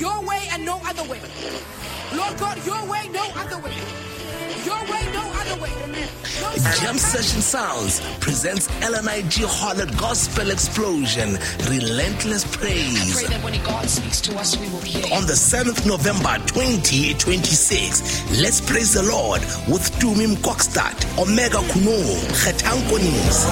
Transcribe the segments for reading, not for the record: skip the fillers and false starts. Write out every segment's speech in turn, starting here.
your way and no other way. Lord God, your way, no other way. Your way, no other way. Jam Session Sounds presents LNIG Holland Gospel Explosion, Relentless Praise. I pray that when God speaks to us, we will hear. On the 7th November 2026, let's praise the Lord with Tumi Mkokstad, Omega Kuno, Kgetang Konisi,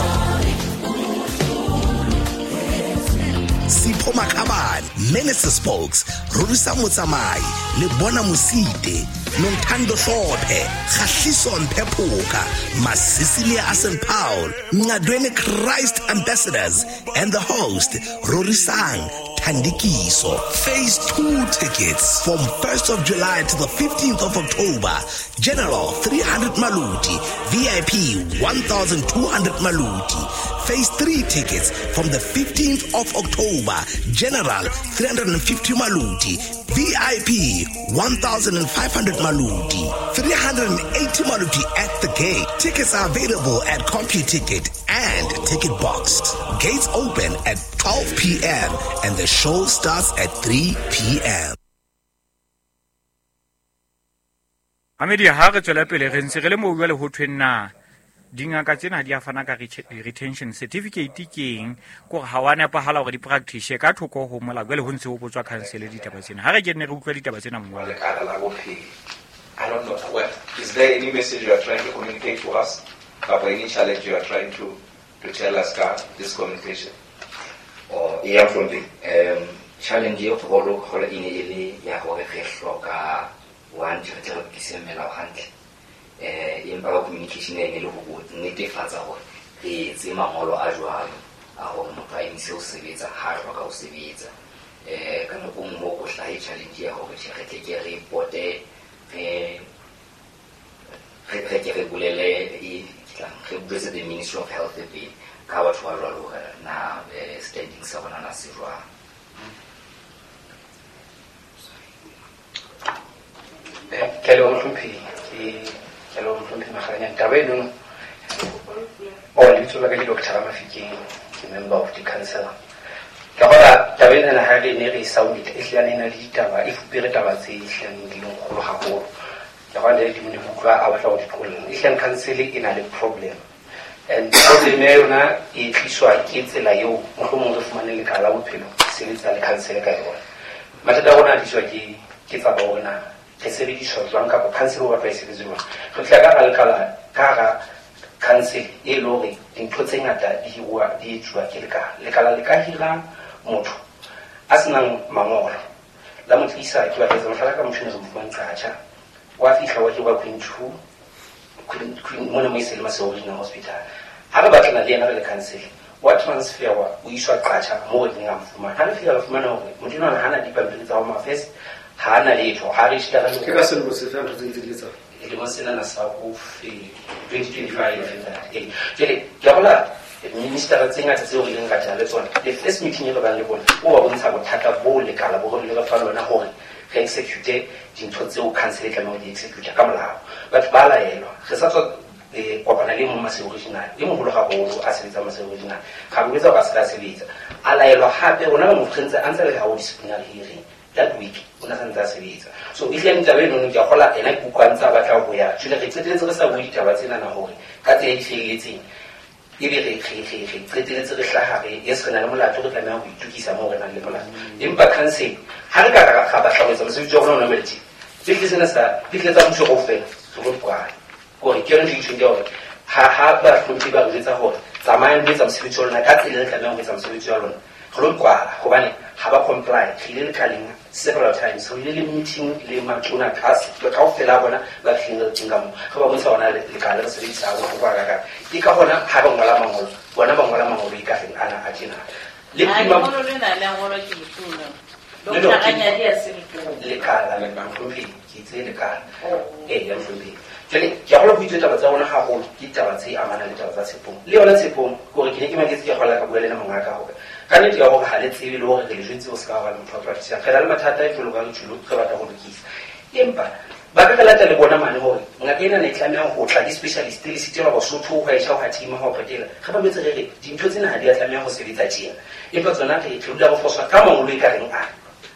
Sipho Makhabane, Minister Spokes, Rorisa Motsamai, Lebona Mosite, Nontando Hlophe, Kgahliso Mpephoka, Masisilia Asen Paul, Ngadweni Christ Ambassadors, and the host, Rorisang Thandikiso. Phase 2 tickets from 1st of July to the 15th of October. General 300 Maluti, VIP 1,200 Maluti. Phase 3 tickets from the 15th of October. General 350 Maluti, VIP 1,500 Maluti, 380 Maluti at the gate. Tickets are available at CompuTicket and Ticket Box. Gates open at 12 p.m. and the show starts at 3 p.m. Amedi ha re tswela pele re ntse re le moo jwale ho thweng na dingaka tsena di a fana ka retention certificate ke eng, kore ha wa nepahala hore di practice ka thoko ho molao. Jwale ho ntse ho botswa council ditaba tsena. Ha re ke nne re utlwa ditaba tsena mongwe. Lekala la bophelo. I don't know. Well, is there any message you are trying to communicate to us? Kapa any challenge you are trying to tell us ka this communication? Oh, yeah, from the challenge e kgolo kgolo e ne e le ya hore re hloka one re tle re lokise melao hantle. Empa ka communication e ne le ho netefatsa hore re etse mangolo a jwalo a hore motho a emise ho sebetsa ha a hloka ho sebetsa. Ka nako nngwe ho hlahe challenge ya hore tjhe, re tle ke re pote re ke re bolele e re boletse the Ministry of Health pele ka batho ba jwalo hore na standing sa bona na se jwang. Ke le mohlomphehi, ke le mohlomphehi Makganyane. Taba eno, oh, lebitso la ka ke Dr. Ramafikeng, ke member of the council. Ka hona taba ena ha re ne re sound e hlilane na le ditaba, e fupere taba tse hlilane di leng kgolo haholo. Ka hona le di mo utlwa a batla ho di qolla. E hlilane council e na le problem. And problem ya yona e tliswa ke tsela eo mohlomong re fumane lekala la bophelo sebetsa le council ka yona. Mathata a rona a tliswa ke tsaba hore na re sebediswa jwang kapa council o batla e sebetse jwang. Re tla ka lekala ka hara council e le hore dintho tse ngata di hiruwa di etsuwa ke lekala. Lekala le ka hira motho a senang mangolo la mo tlisa ke batla mohlala ka motho eno re mo fumang Qacha. Wa fihla wa hirwa Queen 2 Queen mona mo e se le Maseru Regional Hospital. Ha re batlana le yena re le council wa transferwa o iswa Qacha moo re ileng ra mo fumana. Ha re fihla re fumana hore motho enwa ha ana dipampiri tsa Home Affairs, ha ana letho, ha re shitara le Ke ka selemo sefe ha ntho tse ntse di etsahala? Lemong sena sa ho 2025. Jwale ke a hola minister tse ngata tseo re ileng ra tla le tsona. The first meeting e re bang le bona, o ba bontsha bothata bo lekala bo re le fa lona hore re execute dintho tseo council e tlamehang ho di execute ka molao. Batho ba laelwa. Re sa tswa kopana le mong Maseru Regional, e moholo haholo a sebetsang Maseru Regional. Ga re botsa hore a se ka sebetsa. A laelwa hape rona ba mo ntse a ntse le ha ho disciplinary hearing. That week o na santse a sebetsa. So e hlile taba eno ke a kgola ena ke utlwa ntse a batla ho ya. Jwale re qetelletse re sa bue ditaba tsena na hore ka tsela e di felletseng ebe re qetelletse re hlaha re yes re na le molato re tlameha ho itokisa moo re nang le molato. Empa council ha re ka ra batla ho etsa mosebetsi wa rona o nameletse. Tse sena sa ditle tsa mmuso kaofela re lo kwala. Hore ke yona ntho e tjhong ke hore ha ba hlomphe ba re jwetsa hore tsamayang le etsa mosebetsi wa lona ka tsela e re tlamehang ho etsa mosebetsi wa lona. Re lo kwala hobane ha ba comply. Re ile lekaleng several times, re ile le meeting le matona kaofela a bona ba fihleng re teng ka moo. Re ba bontsha hona lekala re sebedisa bohloko hakakang. Ke ka hona ha ba ngola mangolo, bona ba ngola mangolo e ka reng ana a tjena. Le prima Mangolo lena le a ngolwa ke letona. No, no, Doctor Ranyadi a se letona. Lekala, mohlomphehi, ke itse lekala. Ya mohlomphehi. Jwale ke a kgolwa ho itswe taba tsa rona haholo ke ditaba tse amanang le taba tsa Tshepong. Le yona Tshepong, hore ke ne ke maketse ke kgola ka bua le ena mongaka hore ka nnete ya hore ha le tsebe le hore re le jwetse ho se ka ba le motho wa practice. Re na le mathata e jwalo ka re tjholo, re batla ho lokisa. Empa ba ka re lata le bona mane hore ngaka ena ne e tlameha ho tla ke specialist le sitelwa Basotho ho esha ho hatima ho qetela. Re ba jwetse re re dintho tsena ha di a tlameha ho sebetsa tjena. Empa tsona re dula re foswa ka mangolo e ka reng a.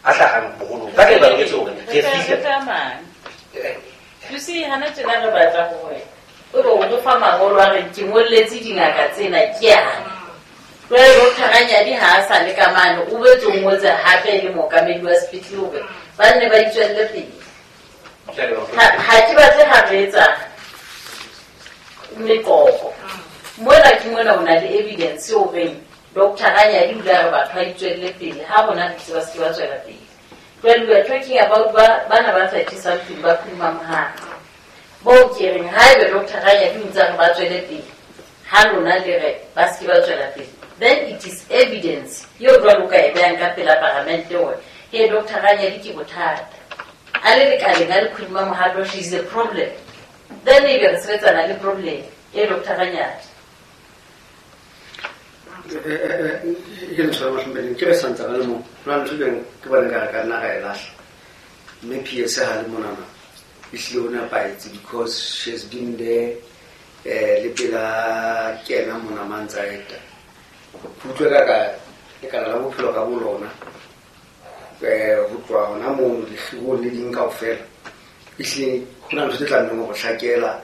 A hlahang boholong ka tla ba loketse hore re fihle. You see, hana tjena re batla hore o be o re fa mangolo a re ke ngolletse dingaka tsena ke ana. Jwale Doctor Ranyadi ha a sa le ka mane, o boetse o ngotse hape le mookamedi wa sepetlele hore ba nne ba itswelle pele. Ha ke batle ha re etsa meqoqo. Mona ke mona o na le evidence horeng Doctor Ranyadi o ile a re batho ba itswelle pele, ha bona re tseba se ke ba tswela pele. Jwale we are talking about bana ba 30 something ba phuma mohato. Moo ke reng haebe Doctor Ranyadi o ntse a re ba tswele pele, ha lona le re ba se ke ba tswela pele, then it is evidence eo jwale o ka e behang ka pela paramente hore he Doctor Ranyadi ke bothata. A le lekaleng a le phuma mohato, she is a problem. Then ebe re sebetsana le problem e Doctor Ranyadi. Ke ntho ya mahlompheheng, ke re santsa ba le moo. Ho na le ntho e leng ke bona ekare ka nna ra e lahla. Mme PS ha le monana, ehlile o nepahetse because she has been there le pela kena mona mantsa eta. Ke utlwe ka ka lekala la bophelo ka bo lona, ho tloha hona mono dikgirong le ding kaofela. Ehlile ho na le ntho tse tlamehang ho hlakela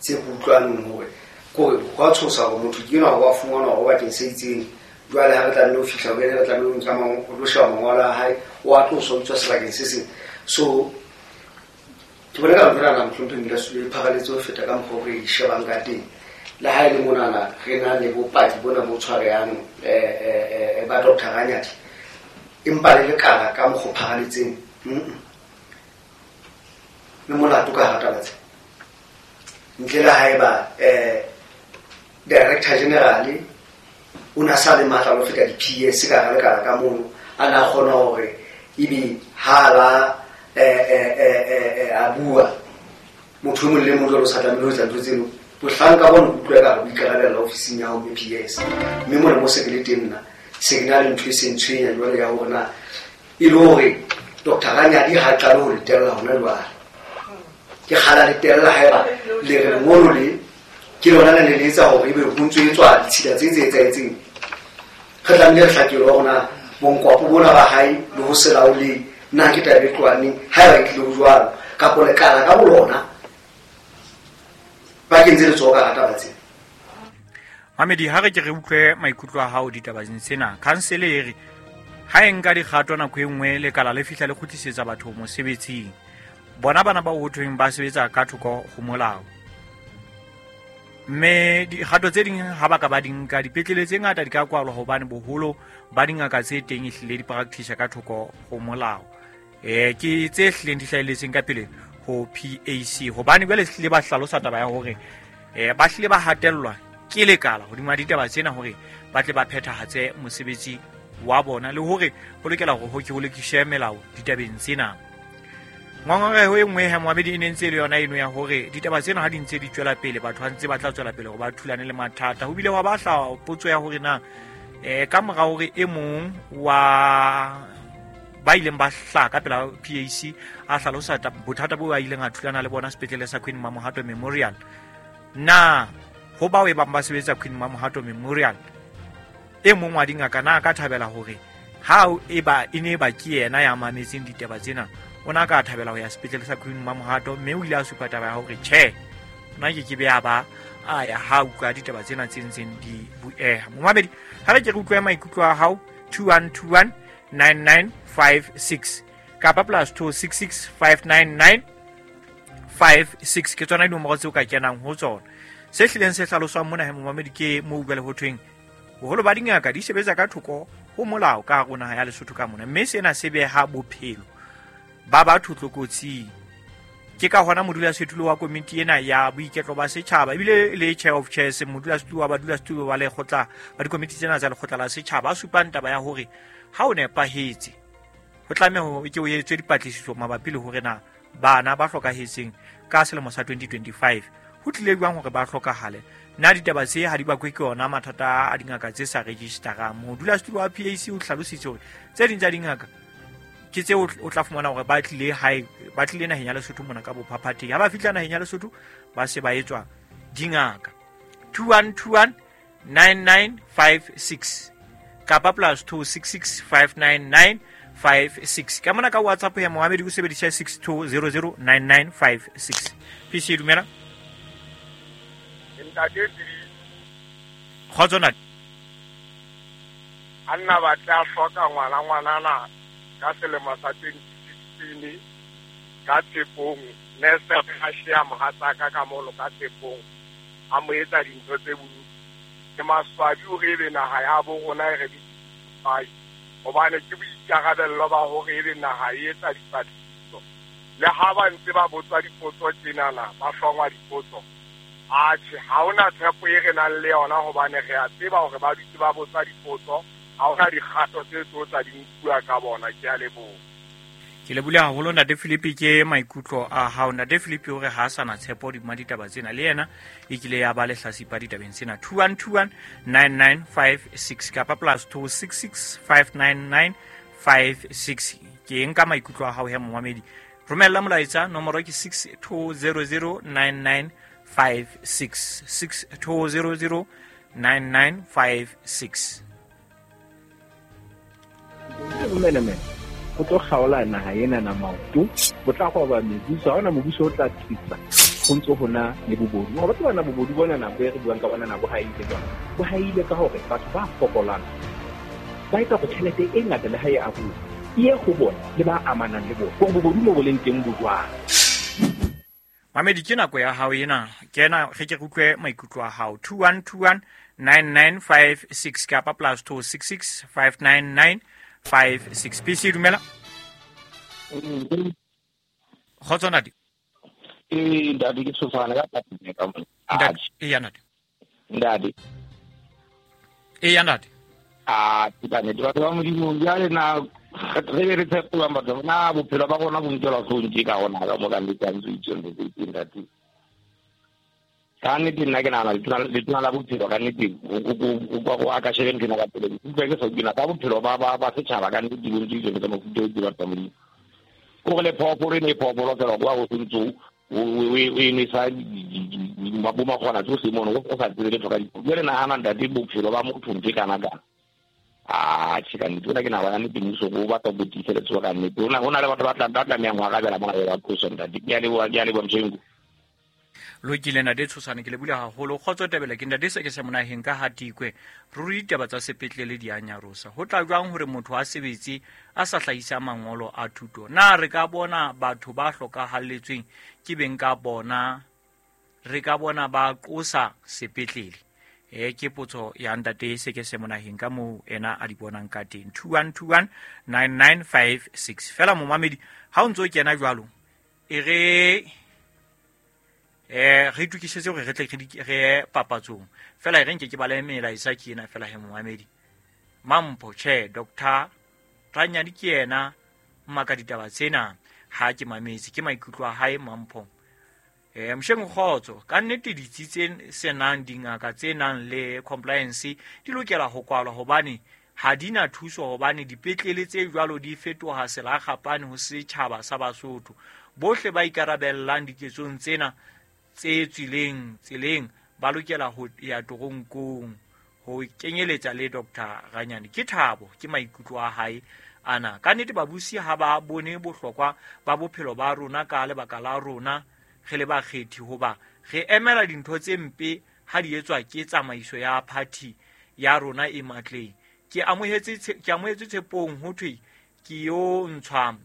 tse ke utlwaneng hore kore ho a tshosa hore motho ke enwa wa fumanwa hore bakeng se itseng. Jwale ha re tlamehile ho fihla ho yena, re tlamehile ho nka ho lo sheba mangolo a hae, o a tloswa, o tswa sebakeng se seng. So ke bona ka ntho ena mohlompheheng modulasetulo e pharaletse ho feta ka mokgwa o re e shebang ka teng. Le ha e le monana re na le bopaki bona bo tshwarehang ba Doctor Ranyadi, empa le lekala ka mokgwa o pharaletseng, le molato ka hara taba tse. Ntle le haeba Director General o na sa le matla ho feta di-PS ka hara lekala ka mono, a na kgona hore ebe ha la a bua motho e mong le mong jwalo o sa tlamehile ho etsa ntho tseno. Bohlanka bona bo utlwa ekare bo ikarabella ofising ya hao mme PS. Mme mona mo se ke le teng nna, se ke na le ntho e seng tshwenya jwale ya hore na e le hore Doctor Ranyadi ha qale ho le tella hona jwale. Ke kgala le tella haeba le re lengolo le ke lona le le etsa hore ebe ho ntso etswa ditshila tse tse etsahetseng. Re tlamehile re hlakelwe hore na bonkwapo bona ba hae le ho se laoleng na ke taba e tlohaneng haeba e tlile ho jwalo, kapo lekala ka bolona ba kentse letsoho ka hara taba tsena. Mamedi, ha re ke re utlwe maikutlo a hao ditabeng tsena. Khansele e re ha e nka dikgato nako e nngwe lekala le fihla le kgutlisetsa batho mosebetsing. Bona bana ba ho thweng ba sebetsa ka thoko ho molao. Mme dikgato tse ding ha ba ka ba di nka, dipetlele tse ngata di ka kwalwa hobane boholo ba dingaka tse teng ehlile di practice ka thoko ho molao. Ke tse hlileng di hlahelletseng ka pele ho PAC, hobane jwale hlile ba hlalosa taba ya hore ba hlile ba hatellwa ke lekala hodima ditaba tsena hore ba tle ba phethahatse mosebetsi wa bona, le hore ho lokela hore ho ke ho lokiswe melao ditabeng tsena. Ngongoreho e nngwe ha moamedi e ne ntse e le yona eno ya hore ditaba tsena ha di ntse di tswela pele, batho ha ntse ba tla tswela pele hore ba thulane le mathata. Ho bile hwa ba hlaha potso ya hore na ka mora hore e mong wa ba ileng ba hlaha ka pela PAC a hlalosa bothata bo a ileng a thulana le bona sepetlele sa Queen Mamohato Memorial, na ho bao e bang ba sebetsa Queen Mamohato Memorial e mong wa dingaka na ka thabela hore ha e ba e ne ba ke yena ya mametseng ditaba tsena, o na ka thabela ho ya sepetlele sa Queen Mamohato? Mme o ile a supa taba ya hore tjhe, nna ke ke be a ba a ya ha utlwa ditaba tsena tse ntseng di bueha. Momamedi, ha re ke re utlwe maikutlo a hao 2121 9956 kapa plus 266 599 56 ke tsona dinomoro tseo ka kenang ho tsona. Se hlileng se hlaloswang mona he momamedi ke moo jwale ho thweng boholo ba dingaka di sebetsa ka thoko ho molao ka hare ho naha ya Lesotho ka mona, mme sena se beha bophelo ba batho tlokotsing. Ke ka hona modulasetulo wa komiti ena ya boiketlo ba setjhaba ebile le chair of chairs, modulasetulo wa badulasetulo ba lekgotla ba dikomiti tsena tsa lekgotla la setjhaba, a supang taba ya hore ha o nepahetse ho tlameha hore ke o etswe dipatlisiso mabapi le hore na bana ba hlokahetseng ka selemo sa 2025 ho tlile jwang hore ba hlokahale. Na ditaba tse ha di bakwe ke yona mathata a dingaka tse sa registerang. Modulasetulo wa PAC o hlalositse hore tse ding tsa dingaka ke tseo o tla fumana hore ba tlile hae, ba tlile naheng ya Lesotho mona ka bophaphathehi. Ha ba fihla naheng ya Lesotho ba se ba etswa dingaka. 2121 9956 kapa plus 266 599 56. Ka mona ka WhatsApp ya momamedi o sebedisa 6200 9956. PC dumela. Ntate Kgotso ntate. A nna ba tla hloka ngwana ngwanana ka selemo sa 2016 ka Tshepong, nese a shea mohatsaka ka mono ka Tshepong, a mo etsa dintho tse bodutu. Ke maswabi hore ebe naha ya bo rona e re bitsai, hobane ke boikarabello ba hore ebe naha e etsa dipatlisiso. Le ha ba ntse ba botswa dipotso tjenana, ba hlongwa dipotso, atjhe, ha hona tshepo e re nang le yona hobane re a tseba hore ba dutse ba botsa dipotso, ha hona dikgato tse tlo tla di nkuwa ka bona. Ke a leboha. Ke lebohile haholo ntate Philip ke maikutlo a hao. Ntate Philip o re ha a sa na tshepo hodima ditaba tsena, le yena e kile ya ba lehlasipa ditabeng tsena. 2121 9956 kapa +266 599 56. Ke nka maikutlo a hao he momamedi. Romella molaetsa, nomoro ke 6200 9956, 6200 9956. Bomenemene go tlo kgaola naha ena na maoto, bo tla goba mebuso, ha hona mobuso o tla tsitsa go ntse ho na le bobodu. Wa batho bana bobodu bona nako e re buang ka bona na bo haile jwang? Bo haile ka hore batho ba fokolang ba etsa go tjhelete e ngata le ha e aruwa e ye go bona le ba amanang le bona, gore bobodu mo bo leng teng bo jwang. Mamedi, ke nako ya hao ena, kena re ke re utlwe maikutlo a hao. 2121 9956 kapa +266 599 56. PC dumela. Kgotso ntate. Ntate ke tshosana ka ka mona. Ntate, eya ntate. Ntate. Eya ntate. A ke ba nete batho ba Modimo jwale na re be re tshepa batho na bophelo ba rona bo nkelwa hloohong tje ka hona ka mo ka nnete ha ntse o itse ntho tse itseng ntate. Ka nnete nna ke nahana letona la bophelo ka nnete o a ka shebe nthwena ka pele. Ke utlwa ke sa utlwe ka bophelo ba setjhaba ka nnete bo ntse itseng tsa mofuta o ke batho ba Modimo. Kore le phoofolo e ne e phoofolo fela kwa o sentse o e nwesa bo makgwana tsohle mono o sa tsebe letho ka diphoofolo. Jwale nahana ntate bophelo ba motho ntho e kana kana. Atjhe ka nnete ona ke nahana nnete mmuso o batla ho tiisa letsoho ka nnete. Ho na le batho ba tlamehang ho arabela mona ba qoso ntate. Ke a leboha, ke a leboha Mshengu. Lokile ntate Tshosane, ke lebohile haholo. Kgotso Tebele, ke ntate se ke se monaheng ka Hatikwe. Ruri ditaba tsa sepetlele di a nyarosa. Ho tla jwang hore motho a sebetse a sa hlahisa mangolo a thuto? Na re ka bona batho ba hlokahalletsweng ke beng ka bona, re ka bona ba qosa sepetlele? Ke potso ya ntate se ke se monaheng ka moo ena a di bonang ka teng. 2121 9956. Fela momamedi, ha o ntso kena jwalo, e re re itukisetse hore re tle re papatsong. Fela e re nke ke bale melaetsa ke ena fela he momamedi. Mampho, tjhe, Dr. Ranyadi ke yena mmaka ditaba tsena, ha ke mametse, ke maikutlo a hae Mampho. Msheng kgotso, ka nnete ditsi tse senang dingaka tse nang le compliance di lokela ho kwalwa hobane ha di na thuso, hobane dipetlele tse jwalo di fetoha selakgapane ho setjhaba sa Basotho. Bohle ba ikarabellang diketsong tsena tse tswileng tseleng ba lokela ho ya toronkong, ho kenyeletsa le Dr. Ranyane. Ke thabo, ke maikutlo a hae ana. Ka nnete babusi ha ba bone bohlokwa ba bophelo ba rona ka lebaka la rona re le bakgethi, hoba re emela dintho tse mpe ha di etswa ke tsamaiso ya party ya rona e matleng. Ke amohetse Tshepong ho thwe ke yo ntshwa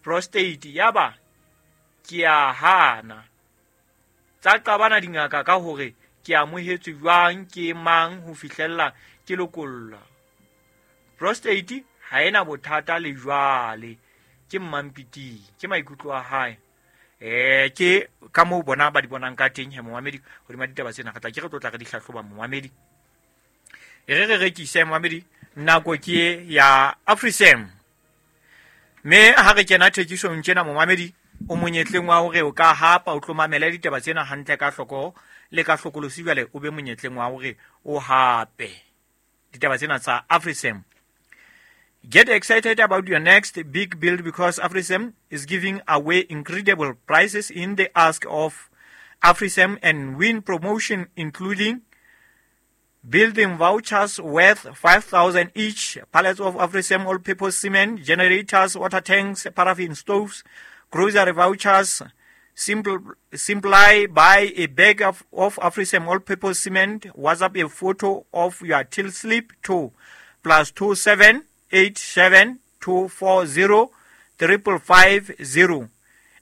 prostate, yaba ke a hana. Tsa qabana dingaka ka hore ke amohetswe jwang ke mang ho fihlella ke lokolla. Prostate ha ena bothata le jwale, ke Mmampiti, ke maikutlo a hae. Ke ka moo bona ba di bonang ka teng he momamedi hodima ditaba tsena. Re tla ke re tlo tla re di hlahloba momamedi. E re re rekise momamedi, nako ke ya Afrisem. Mme ha re kena thekisong tjena momamedi, o monyetleng wa hore o ka hapa, o tlo mamela ditaba tsena hantle ka hloko le ka hlokolosi, jwale o be monyetleng wa hore o hape ditaba tsena tsa Afrisem. Get excited about your next big build because Afrisem is giving away incredible prizes in the Ask of Afrisem and win promotion, including Building vouchers worth 5,000 each, pallets of AfriCem all-purpose cement, generators, water tanks, paraffin stoves, grocery vouchers. Simply buy a bag of AfriCem all-purpose cement. WhatsApp a photo of your till slip to +27 87 240 550,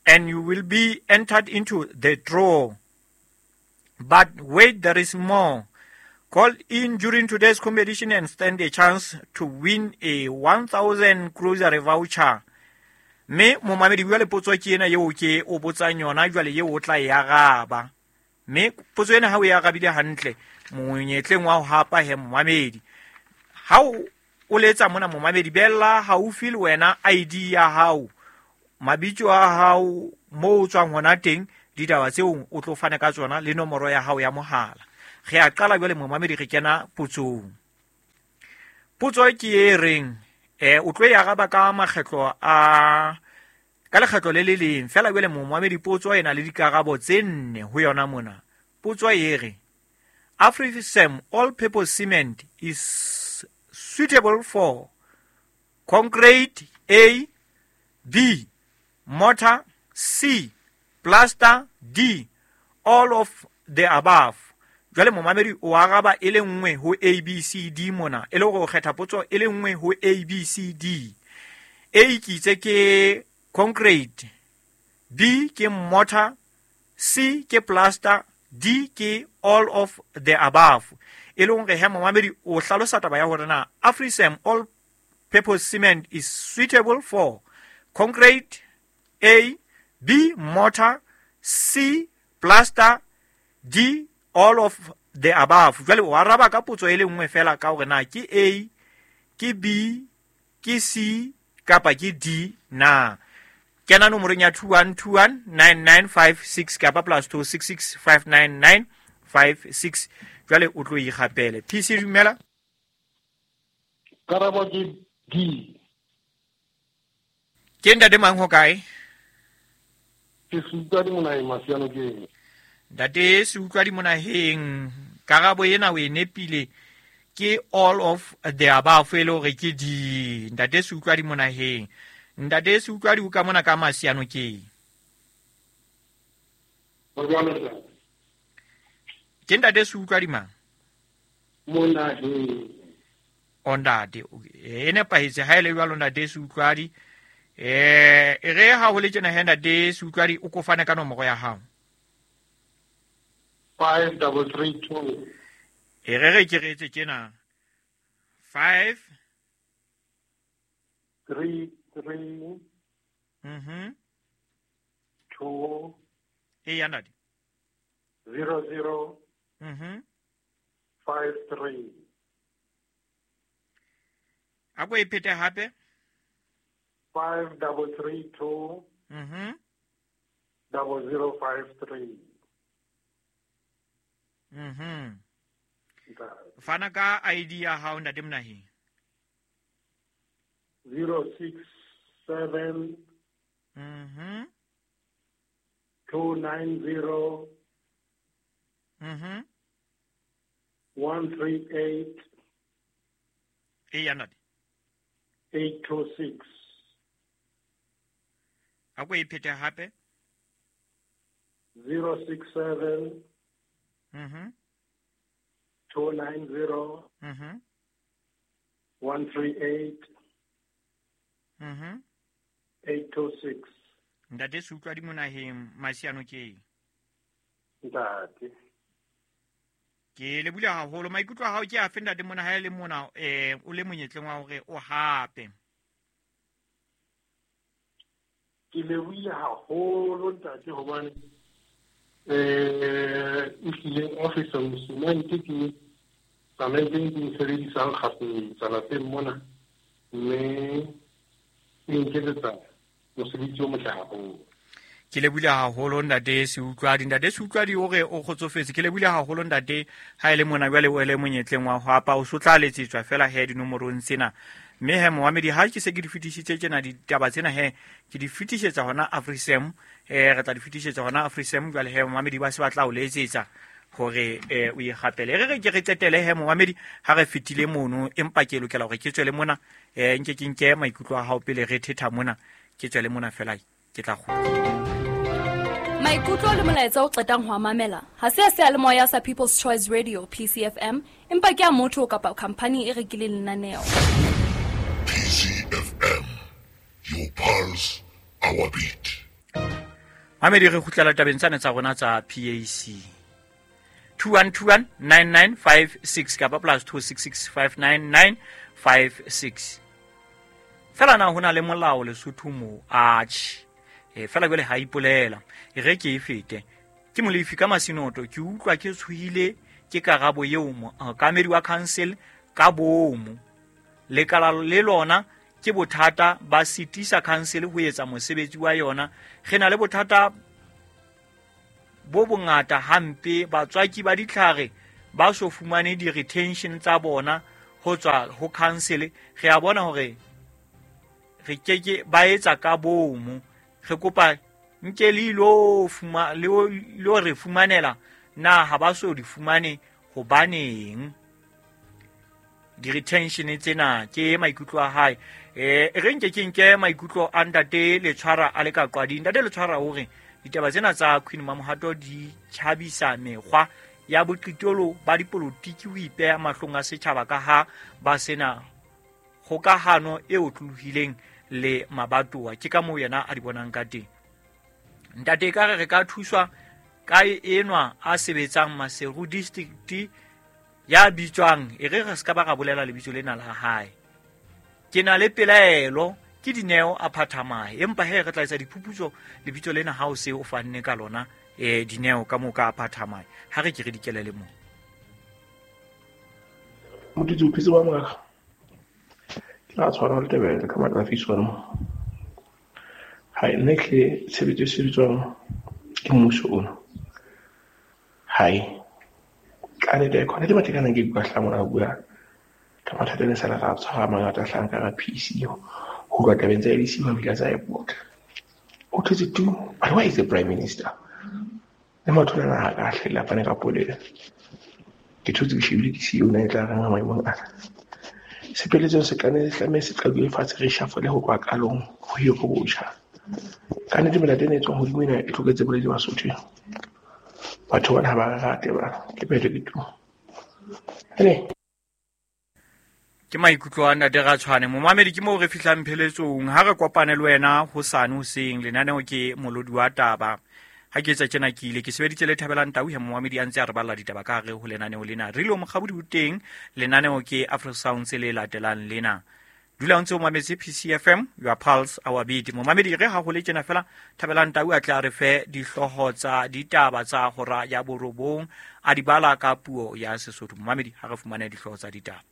and you will be entered into the draw. But wait, there is more. Call in during today's competition and stand a chance to win a 1,000 grocery voucher. Mme momamedi jwale potso ke ena eo ke o botsang yona jwale eo o tla e araba. Mme potso ena ha o e arabile hantle, monyetleng wa ho hapa he momamedi. Ha o letsa mona momamedi, bella haufi le wena ID ya hao, mabitso a hao, moo o tswang hona teng, ditaba tseo o tlo fana ka tsona le nomoro ya hao ya mohala. Re a qala jwale momamedi, re kena potsong. Potso ke e reng, o tlo e araba ka makgetlo a ka lekgetlo le le leng fela. Jwale momamedi, potso e na le dikarabo tse nne ho yona mona. Potso e re, AfriCem all-purpose cement is suitable for concrete A, B, mortar, C, plaster, D, all of the above. Jwale momamedi o araba e le nngwe ho A, B, C, D mona, e le hore o kgetha potso e le nngwe ho A, B, C, D. A ke itse ke concrete, B ke mortar, C ke plaster, D ke all of the above. E le hore he momamedi o hlalosa taba ya hore na AfriCem all purpose cement is suitable for concrete A, B, mortar, C, plaster, D, all of the above. Jwale o araba ka potso e le nngwe fela ka hore na ke A, ke B, ke C kapa ke D na. Kena nomorong ya 21219956 kapa +266 59956. Jwale o tlo ikgapele. PC dumela. Karabo ke D. Ke ntate mang ho kae? Ke Seutlwadi Monaheng, Masianokeng. Ntate Seutlwadi Monaheng, karabo ena o e nepile, ke all of the above, e le hore ke D. Ntate Seutlwadi Monaheng. Ntate Seutlwadi o ka mona ka Masianokeng. Ke ntate Seutlwadi mang? Monaheng. O ntate, e nepahetse ha e le jwalo ntate Seutlwadi. E re ha ho le tjena he ntate Seutlwadi, o ko fane ka nomoro ya hao. 5332. E re re ke re etse tjena. 5 3 3 2 e ya ntate 0 0 5 3. A ko e phete hape. 5 3 3 2 00 5 3. Fana ka ID ya hao ntate Monaheng. 0 6 7 2 9 0 1 3 8 e ya ntate 8 2 6. A ko e phete hape. 0 6 7 2 9 0 1 3 8 8 2 6. Ntate Seutlwadi Monaheng, Masianokeng. Ntate, ke le bula haholo. Maikutlo a hao ke afe ntate mona ha e le mona o le monyetleng wa hore o hape? Ke lebohile haholo ntate, hobane ehlile AfriCem cement ke cement e ke e sebedisang kgafetsa lapeng mona, mme e nketsetsa mosebetsi o motle haholo. Ke lebohile haholo ntate Seutlwadi. Ntate Seutlwadi o re o kgotsofetse. Ke lebohile haholo ntate ha e le mona jwale o le monyetleng wa ho hapa, o so tla letsetswa fela he dinomorong tsena. Mme he momamedi, ha ke se ke di fetisitse tjena ditaba tsena he ke di fetisetsa hona AfriCem, re tla di fetisetsa hona AfriCem. Jwale he momamedi ba se ba tla o letsetsa Hore o ikgapele. Re re ke re qetele he momamedi ha re fetile mono, empa ke lokela hore ke tswele mona, nke ke nke maikutlo a hao pele re thetha mona, ke tswele mona fela ke tla kgutla. Maikutlo le molaetsa o qetang ho a mamela ha se a seyalemoya sa People's Choice Radio PCFM, empa ke a motho kapa khampani e rekileng lenaneo. PCFM, your pulse, our beat. Mamedi, re kgutlela tabeng tsane tsa rona tsa PAC. 21219956 kapa +266599956. Fela na hona le molao Lesotho mo? Atjhe. Fela jwale ha ipolela. E re ke e fete. Ke Molefi ka Masinoto, ke utlwa ke tshohile ke karabo eo mookamedi wa council ka bomo. Lekala le lona ke bothata ba sitisa council ho etsa mosebetsi wa yona. Re na le bothata bo bongata hampe, batswaki ba ditlhare ba so fumane di-retention tsa bona ho tswa ho council. Re a bona hore re keke ba etsa ka bomo. Re kopa nke le ilo fuma, le lo re fumanela na ha ba so di fumane hobaneng di-retention tsena. Ke maikutlo a hae. Re nke ke nke maikutlo a ntate Letshwara a le ka Qwading. Ntate Letshwara hore ditaba tsena tsa Queen Mamohato di tjhabisa mekgwa ya boqitolo ba dipolotiki ho ipeha mahlong a setjhaba ka ha ba sena kgokahano e otlolohileng le mabatowa. Ke ka moo yena a di bonang ka teng. Ntate, ka re re ka thuswa ka enwa a sebetsang Maseru district ya bitswang, e re re se ka ba ra bolela lebitso lena la hae. Ke na le pelaelo ke Dineo a phathamahe, empa he re tla etsa diphuputso lebitso lena ha o se o fanne ka lona, Dineo ka moo ka phathamahe. Ha re ke re dikelele moo. Motho o phetse ba mongaka. Ke la tshwana le Tebele ka matla fiswana. Ha nne ke tshebetso e sebetswang ke mmuso ona. Hai. Ka nnete khona ke batla kana ke bua hla mona bua ka mathata ne sala ra tshwara mangata hlang ka PC ho tloha tabeng tsa LC ba bile tsa airport. O thetse tu, but why is the prime minister? Le motho lena ha ka hlela fane ka polelo. Ke thotse ke shebile ke siyo na e tla reng maemong ana. Sepeletseng se kane se tlameha se qadile fatshe re shafole ho tloha qalong ho ye ho botjha. Ka nnete melata ena e tswang hodimo ena e tloketse boledi Basotho. Batho bana ha ba re rate ba ke phetho ke tu. Ene ke maikutlo a ntate Ratshwane. Momamedi, ke moo re fihlang pheletsong. Ha re kopane le wena hosane hoseng, lenaneo ke Molodi wa Taba. Ha ke etsa tjena ke ile ke sebeditse le Thabelang Tau he momamedi a ntse a re balla ditaba ka hare ho lenaneo lena. Re lo mokgabodi o teng, lenaneo ke Afro Sounds le latelang lena. Dula o ntse o mametse PCFM, your pulse, our beat. Momamedi, re ha ho le tjena fela, Thabelang Tau a tla re fe dihlooho tsa ditaba tsa hora ya 9, a di bala ka puo ya Sesotho. Momamedi, ha re fumane dihlooho tsa ditaba.